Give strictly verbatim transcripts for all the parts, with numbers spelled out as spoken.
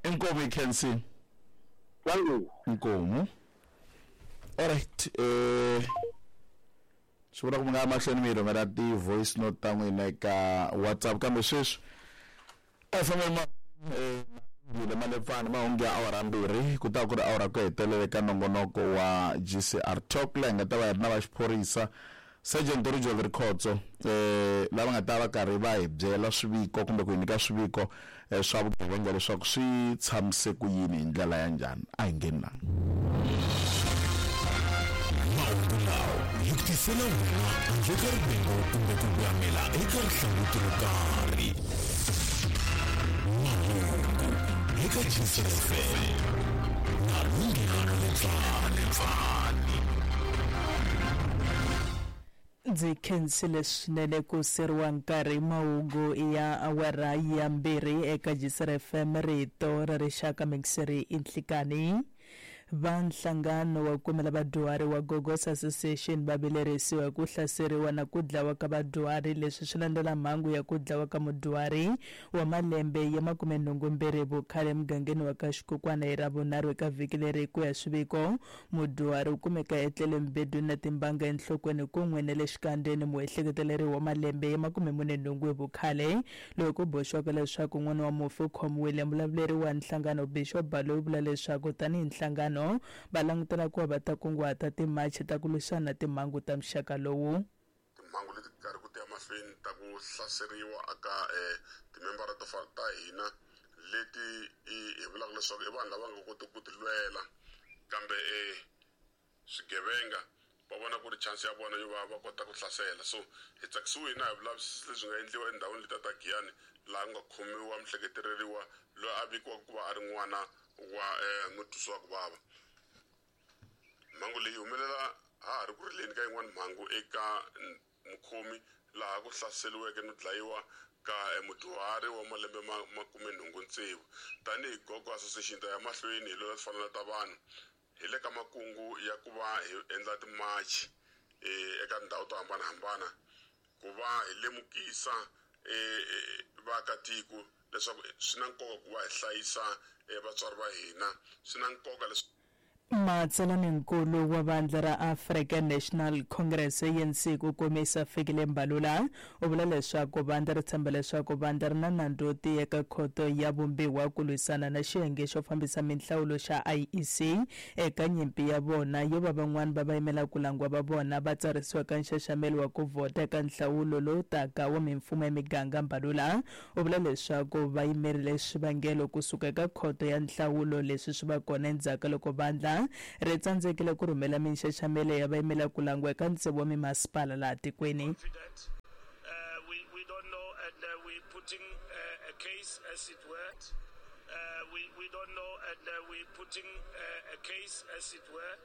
Inkomu hi khensini. Thank Inkomu. Alright, eh swi vula ku mi nga ya mahlweni mi hi rhumela ti-voice note ta n'wina eka WhatsApp, kambe sweswi a hi fambeni ma eh Malepfani mahungu ya awara mbirhi ku ta ku ri awara ku hetelela eka nongonoko wa G C R Talk, laha hi nga ta va hi ri na va xiphorisa, Sergeant Rijoli Rikhotso, eh lava nga ta va karhi va hi byela swiviko kumbe ku hi nyika swiviko eh, swa vugevenga leswaku swi tshamise ku yini hi ndlela ya njhani. A hi ngheni na Mahungu lawa hi ku tisela wena handle ka rivengo kumbe ku voyamela eka rihlanguti ro karhi. Mahungu eka G C R F M na Lunghelo Lepfani. Ndzi khensile swinene ku seriwa nkarhi. Mahungu ya awara ya mbirhi eka G C R F M, rito ra rixaka. Mixeri i nhlikani. Va nhlangano wa kumela vadyuhari wa Gogos Association va vilerisiwa hi ku hlaseriwa na ku dlawa ka vadyuhari. Leswi swi landzela mhangu ya ku dlawa ka mudyuhari wa malembe ya makumenhungumbirhi vukhale emugangeni wa ka Xikukwana hi Ravunharhu eka vhiki leri. Ku ya swiviko, mudyuhari u kumeka etlele mubedweni na timbanga enhlokweni kun'we na le xikandzeni. Muehleketeleri wa malembe ya makumemunenhungu hi vukhale, loyi ku boxiwaka leswaku n'wana wa mufi, u khomiwile. Mulavuleri wa nhlangano, Bishop Baloyi, vula leswaku tanihi nhlangano va langutela ku va va ta kunguhata timachi ta ku lwisana na timhangu ta muxaka lowu. Timhangu leti karhi ku ti ya mahlweni ta ku hlaseriwa aka um timembara to fana ta hina leti hi vulaka leswaku i vanhu lava nga kotiki ku ti lwela, kambe um swigevenga va vona ku ri chance ya vona yo va va kota ku hlasela. So hi tsakisiwe na hi vulavisisi lebyi nga endliwa endhawini letiya ta Giyani, laha ku nga khomiwa mihleketeleriwa loyi a vikiwaka ku va a ri n'wana wa um mutwisi wa ku vava. Mhangu leyi humelela ha ha ri ku rileni ka yin'wani mhangu eka mukhomi, laha ku hlaseriweke no dlayiwa ka mudyuhari wa malembe ma makumenhungu tsevu. Tanihi Gogo Association, ta ya mahlweni hi lwela timfanelo ta vanhu. Hi le ka makungu ya ku va hi endla timachi eka tindhawu to hambanahambana ku va hi lemukisa vaakatiko leswaku swi na nkoka ku va hi hlayisa vatswari va hina, swi na nkoka leswi Matsalaninkulu wa vandla ra African National Congress, A N C, ku komisa Fikile Mbalula, u vula leswaku vandla ri tshemba leswaku vandla ri na nandzu wo tiya eka khoto ya vumbiwa ku lwisana na xiyenge xo fambisa minhlawulo xa I E C eka nyimpi ya vona yo va van'wani va vayimela ku langiwa va vona va tsarisiwa ka nxaxamelo wa ku vhota eka nhlawulo lowu taka wa mimfumo ya miganga. Mbalula u vula leswaku va yimerile swivangelo kusuka eka khoto ya nhlawulo. Leswi swi va kona endzhaku ka loko vandla ri tsandzekile ku rhumela minxaxamelo ya vayimela ku langiwa eka tsevu wa mimasipala laha tikweni. Confident. Uh, we, we don't know, and uh, we're putting uh, a case, as it were. Uh, we, we don't know, and uh, we're putting uh, a case, as it were,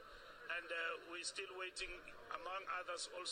and uh, we're still waiting, among others, also.